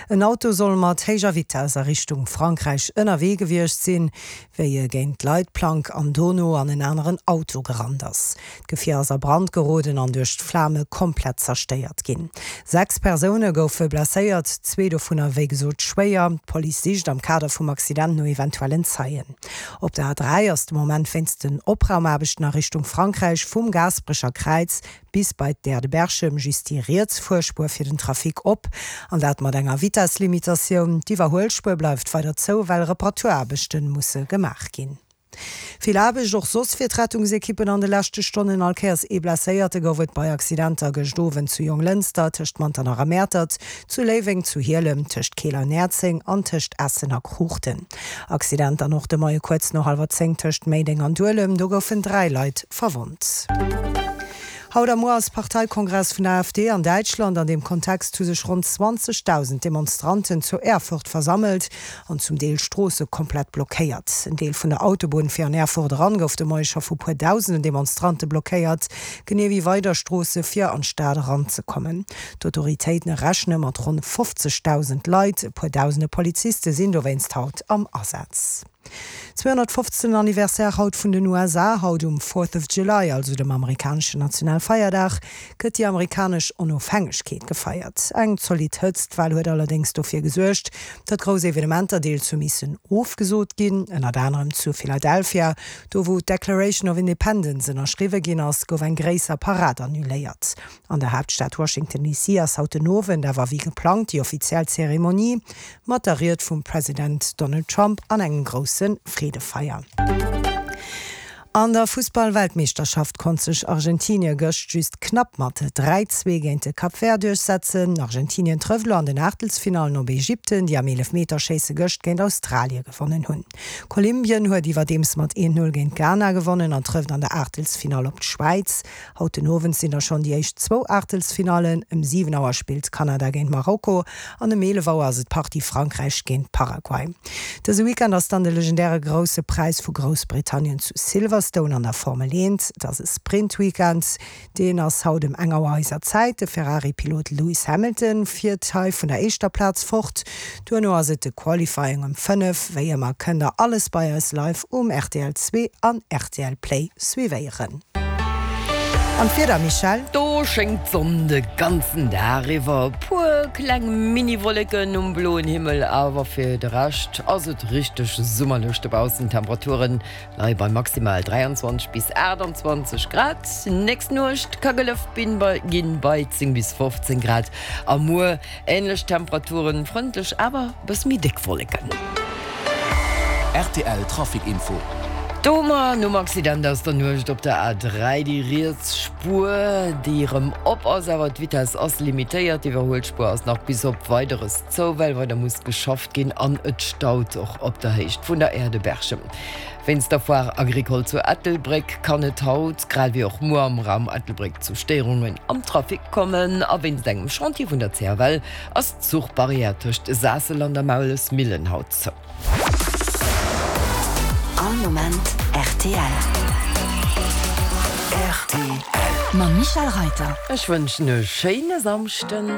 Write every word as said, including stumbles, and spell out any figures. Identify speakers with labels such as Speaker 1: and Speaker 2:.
Speaker 1: En Auto soll mat héijer Vitess a Richtung Frankräich ënnerwee gewiescht sinn, wéi e géint d'Leitplank an dono an en aneren Auto gerannt ass. D'Gefier ass a Brand geroden an duerch d'Flame komplett zerstéiert ginn. Sechs Persoune goufe blesséiert, zwee dovunner wéi gesot schwéier. D'Police sicht am Kader vum Accident no eventuellen Zeien. Op der A dräi ass de Moment wéinst den Opraumaarbechten a Richtung Frankräich vum Gaasperecher Kräiz bis bei d'Aire de Berchem just déi riets Fuerspuer fir den Trafic op, an dat mat enger Vitesslimitatioun. D'Iwwerhuelspuer bleift weider zou, well Reparaturaarbechte musse gemaach ginn. Vill Aarbecht och soss fir d'Rettungsekippen an de leschte Stonnen. All Kéiers ee Blesséierte gouf et bei Accidenter gëscht Owend zu Jonglënster, tëscht Manternach a Mäertert, zu Léiweng, zu Hielem, tëscht Keel an Näerzeng an tëscht Essen a Kruuchten. Accident dann och de Moie kuerz no hallwer zéng tëscht Méideng an Duelem, do goufen dräi Leit verwonnt. Haut a muer ass Parteikongress vun der AfD an Däitschland. An deem Kontext hu sech ronn zwanzegdausend Demonstranten zu Erfurt versammelt an zum Deel Stroosse komplett blockéiert. En Deel vun der Autobunn fir an Erfurt eran gouf de Moie scho vu puer dausenden Demonstrante blockéiert, genee wéi weider Stroosse fir an d'Stad eranzekommen. D'Autoritéiten rechne mat ronn fofzegdausend Leit, e puer dausende Poliziste sinn dowéinst haut am Asaz. Zweehonnertfofzten Anniversaire haut vun den U S A. Haut um Fourth of July, also dem amerikaneschen Nationalfeierdag, gëtt déi amerikanesch Onofhängegkeet gefeiert. Eng zolidd Hëtztwell huet allerdéngs dofir gesuergt, datt grouss Evenementer deels hu missen ofgesot ginn. Ënnert anerem zu Philadelphia, do wou d'Declaration of Independence ënnerschriwwe ginn ass, gouf eng gréisser Parad annuléiert. An der Haaptstad Washington D C ass haut den Owend awer wéi geplangt déi offiziell Zeremonie mat der Ried vum President Donald Trump an engem grousse Freedefeier. An der Fussball-Weltmeeschterschaft konnt sech Argentinie gëscht just knapp mat dräi, zwee géint de Cap Vert duerchsetzen. Argentinien trëfft elo an den Aachtelsfinallen op Ägypten, déi am Eelefmeterschéisse gëscht géint Australie gewonnen hunn. Kolumbien huet iwwerdeems mat een, null géint Ghana gewonnen an trëfft an der Aachtelsfinall op d'Schwäiz. Haut den Owend sinn da schonn déi éischt zwou Aachtelsfinallen. Ëm siwen Auer spillt Kanada géint Marokko an ëm eelef Auer ass et d'Partie Frankräich géint Paraguay. Dëse Weekend ass dann de legendäre Grousse Präis vu Groussbritannien zu Silverstone an der Formel eent. Et ass e Sprint-Weekend, deen ass haut ëm eng Auer eiser Zäit. De Ferrari-Pilot Lewis Hamilton fiert hei vun der éischter Plaz fort. Duerno ass et de Qualifying ëm fënnef. Wéi ëmmer kënnt der alles bei eis live um R T L zwee an R T L Play suivéieren. An d'Wieder, Michèle?
Speaker 2: Do schéngt d'Sonn de ganzen Dag iwwer. Puer kleng Mini-Wolleken um bloen Himmel, awer fir de Rescht ass et richteg summerlech dobaussen. D'Temperaturen leie bei maximal dräianzwanzeg bis aachtanzwanzeg Grad. Nächst Nuecht ka gelëft ginn bei zéng bis fofzéng Grad a muer änlech Temperaturen, frëndlech, awer bësse méi déck Wolleken.
Speaker 3: R T L Trafic Info.
Speaker 2: Do hu mer nom Accident aus der Nuecht op der A dräi déi riets Spuer, déi erëm op ass, awer d'Vitess ass limitéiert. D'Iwwerhuelspuer ass nach bis op Weideres zou, well weider muss geschafft ginn an et staut och op der Héicht vun der Aire de Berchem. Wéinst der Foire Agricole zu Ettelbréck kann et haut, grad wéi och muer am Raum Ettelbréck zu Stéierungen am Trafic kommen a wéinst engem Chantier vun der C F L ass d'Zuchbarrière tëscht Saassel an der Maulesmillen haut zou.
Speaker 4: All Moment R T L.
Speaker 3: R T L.
Speaker 4: Mam Michèle Reiter.
Speaker 2: Ech wënschen e schéine Samschden.